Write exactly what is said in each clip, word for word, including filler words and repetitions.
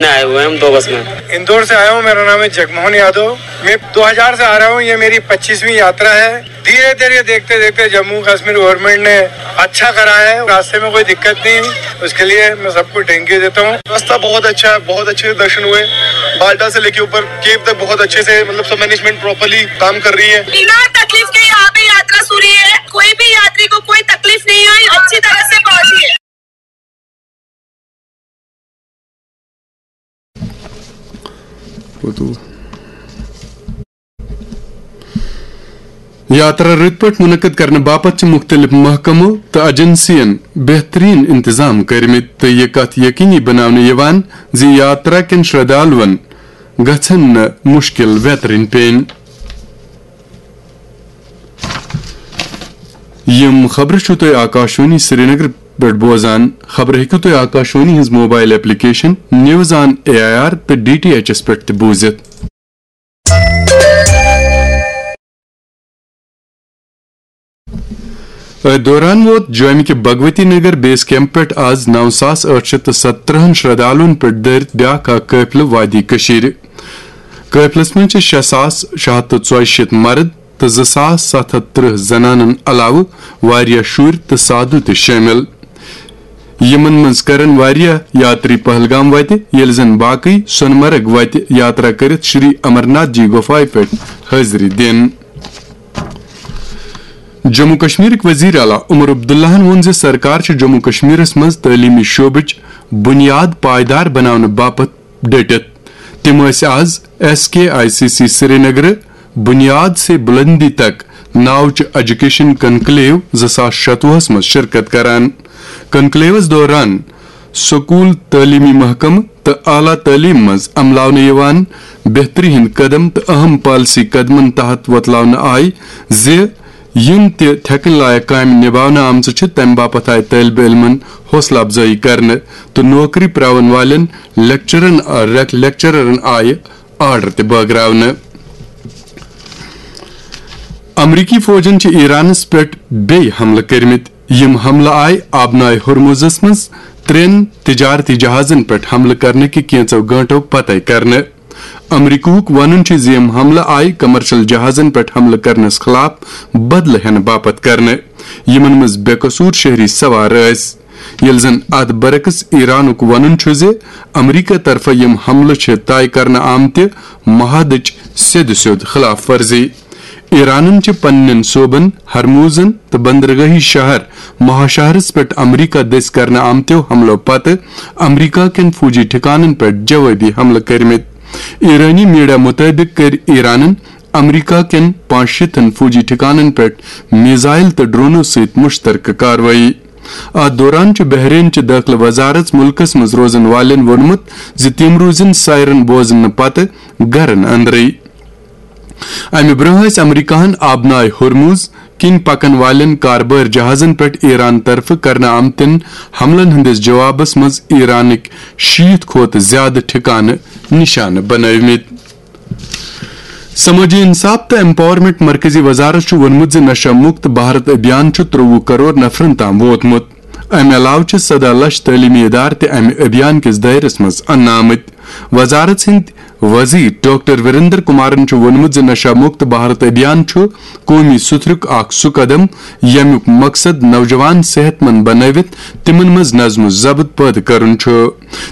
आए हुए हैं हम दो बस में। इंदौर से आया हूँ, मेरा नाम है जगमोहन यादव। मैं दो हज़ार से आ रहा हूँ, ये मेरी पच्चीसवीं यात्रा है। धीरे धीरे, देखते देखते जम्मू कश्मीर गवर्नमेंट ने अच्छा करा है, रास्ते में कोई दिक्कत नहीं हुई, उसके लिए मैं सबको थैंक यू देता हूँ। रास्ता बहुत अच्छा है, बहुत अच्छे दर्शन हुए। बाल्टा से लेके ऊपर केव तक बहुत अच्छे से, मतलब, सब मैनेजमेंट प्रॉपरली काम कर रही है। बिना तकलीफ के यहाँ पे यात्रा सुरी है, कोई भी यात्री को कोई तकलीफ नहीं हुई, अच्छी तरह से पहुंची है। یاترا رٕتۍ پٲٹھۍ منعقد کرنہٕ باپتھ چھِ مُختٔلِف محکمو تہٕ ایجنسیَن بہتریٖن انتظام کٔرمٕتۍ تہٕ یہِ کتھ یقینی بناونہٕ یِوان زِ یاترا کٮ۪ن شردھالوَن گژھن نہٕ مُشکِل ویترٕنۍ پیٚنۍ۔ یِم خبرٕ چھِو تُہۍ آکاشوانی سرینگر پٮ۪ٹھ بوزان۔ خبرٕ ہیٚکِو تُہۍ آکاشوانی ہٕنٛز mobile application news on A I R تہٕ ڈی ٹی ایچ ایس پٮ۪ٹھ تہِ بوٗزِتھ۔ أتھۍ دوران ووت جوٚمہِ کہِ بھگوتی نگر بیس کیمپ پٮ۪ٹھ آز نو ساس ٲٹھ شیٚتھ تہٕ ستترٕہن شردھالوَن پٮ۪ٹھ دٲرِتھ بیٛاکھ اکھ قٲفلہٕ وادی کٔشیٖرِ۔ قٲفلس منٛز چھِ شےٚ ساس شےٚ ہتھ تہٕ ژۄیہِ شیٖتھ مرد تہٕ زٕ ساس ستھ ہتھ ترٕٛہ زنانن علاوٕ واریاہ شُرۍ تہٕ سادھو تہِ شٲمِل۔ یِمن منٛز کرن واریاہ یاتری پہلگام وتہِ، ییٚلہِ زن باقٕے سۄنہٕ مرگ وتہِ یاترا کٔرِتھ شری امرناتھ جی گۄپھایہِ پٮ۪ٹھ حٲضری دِن۔ جموں کشمیرٕکۍ وزیر اعلیٰ عمر عبداللہَن ووٚن زِ سرکار چھِ جموں کشمیرس منٛز تعلیمی شعبٕچ بُنیاد پائیدار بناونہٕ باپتھ ڈٔٹِتھ۔ تِم ٲسۍ آز S K I C C سرینگرٕ بنیاد سے بلندی تک ناو چہِ ایجوکیشن کنکلیو زٕ ساس شتوُہس منٛز شرکت کران۔ کنکلیوس دوران سکول، تعلیمی محکمہٕ تہٕ اعلیٰ تعلیٖم منٛز عملاونہٕ یِوان بہتری ہٕنٛدۍ قدم تہٕ اہم پالیسی قدمن تحت وۄتلاونہٕ آیہِ زِ یِم تہِ تھٮ۪کٕنۍ لایق کامہِ نِباونہٕ آمژٕ چھِ، تَمہِ باپتھ آیہِ طٲلبہِ علمَن حوصلہٕ افزٲیی کرنہٕ تہٕ نوکری پراون والٮ۪ن لیکچرن، لیکچررن آیہِ آرڈر تہِ بٲگراونہٕ۔ امریکی فوجن چھِ ایرانس پٮ۪ٹھ بیٚیہِ حملہٕ کٔرمٕتۍ۔ یِم حملہٕ آیہِ آبنائے ہرمزس منٛز ترٛٮ۪ن تجارتی جہازن پٮ۪ٹھ حملہٕ کرنہٕ کہِ کینٛژو گٲنٛٹو پتے کرنہٕ۔ امریکہُک ونُن چھُ زِ یِم حملہٕ آیہِ کمرشل جہازن پٮ۪ٹھ حملہٕ کرنس خلاف بدلہٕ ہٮ۪نہٕ باپتھ کرنہٕ، یِمن منٛز بے قصور شہری سوار ٲسۍ۔ ییٚلہِ زن اتھ برعکس ایرانُک ونُن چھُ زِ امریکہ طرفہٕ یِم حملہٕ چھِ طے کرنہٕ آمتہِ معاہدٕچ سیٚدِ سیوٚد خلاف ورزی۔ ایرانن چھِ پننٮ۪ن صوبن ہرموزن تہٕ بندرگاہی شہر مہاشہرس پٮ۪ٹھ امریکہ دٔسۍ کرنہٕ آمتیو حملو پتہٕ امریکہ کٮ۪ن فوجی ٹھکانن پٮ۪ٹھ جوٲبی حملہٕ کٔرمٕتۍ۔ ایرانی میڈیا مُطٲبِق کٔرۍ ایرانن امریکہ کٮ۪ن پانٛژھ شیٖتن فوجی ٹھکانن پٮ۪ٹھ میزائل تہٕ ڈرونو سۭتۍ مشترکہٕ کاروٲیی۔ اتھ دوران چھُ بحرین چہِ دٲخلہٕ وزارت مُلکس منٛز روزن والٮ۪ن ووٚنمُت زِ تِم روٗزِن سائرن بوزنہٕ پتہٕ گرن اندرٕے۔ امہِ برٛونٛہہ ٲسۍ امریکہن آبنائے ہرمز کِنۍ پکن والٮ۪ن کاربٲرۍ جہازن پٮ۪ٹھ ایران طرفہٕ کرنہٕ آمتٮ۪ن حملن ہٕنٛدِس جوابس منٛز ایرانٕکۍ شیٖتھ کھۄتہٕ زیادٕ ٹھکانہٕ نشانہٕ بنٲومٕتۍ۔ سمٲجی انصاف تہٕ ایمپاورمنٹ مرکزی وزارت چھُ ووٚنمُت زِ نشہ مکت بھارت ابھیان چھُ ترٛوٚوُہ کرور نفرن تام ووتمُت۔ امہِ علاوٕ چھِ سداہ لچھ تعلیمی ادارٕ تہِ امہِ ابھیان کِس دٲیرس منٛز اننہٕ آمٕتۍ۔ وزارت سٕنٛدۍ وزیر ڈاکٹر وریندر کمارن چھُ ووٚنمُت زِ نشہ مکت بھارت ابھیان چھُ قومی سترُک اکھ سُہ قدم، ییٚمیُک مقصد نوجوان صحت مند بنٲوِتھ تِمن منٛز نظم و ضبط پٲدٕ کرُن چھُ۔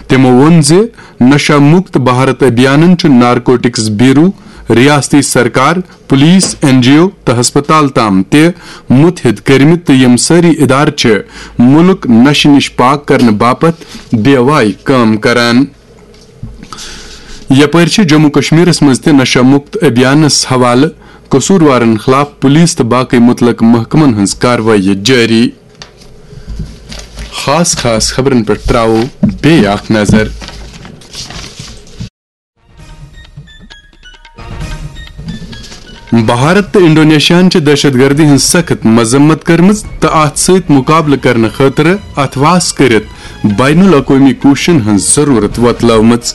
تِمو ووٚن زِ نشہ مکت بھارت ابھیانن چھُ نارکوٹکس بیورو، ریاستی سرکار، پولیس، این جی او تہٕ ہسپتال تام تہِ متحد کٔرمٕتۍ تہٕ یِم سٲری ادارٕ چھِ مُلک نشہٕ نِش پاک کرنہٕ باپتھ بے وای کٲم کران۔ یپٲرۍ چھِ جموں کشمیرس منٛز تہِ نشہ مکت ابھیانس حوالہٕ قصوٗروارن خلاف پولیس تہٕ باقٕے مُتلقہٕ محکمن ہٕنٛز کاروٲیی جٲری۔ خاص خاص خبرن پٮ۪ٹھ تراوو بیٚیہِ اکھ نظر۔ بھارت تہٕ انڈونیشیاہن چھِ دہشت گردی ہٕنٛز سخت مذمت کٔرمٕژ تہٕ اتھ سۭتۍ مقابلہٕ کرنہٕ خٲطرٕ اتھواس کٔرِتھ بین الاقوٲمی کوٗششن ہٕنٛز ضروٗرت وۄتلٲومٕژ۔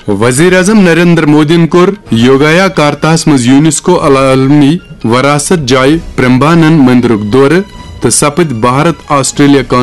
وزیر اعظم نریندر مودیَن کوٚر یوگایا کارتاہَس منٛز یونیسکو العالمی وراثت جایہِ پرمبانن مندرُک دورٕ تہٕ سپٕدۍ بھارت آسٹریلیا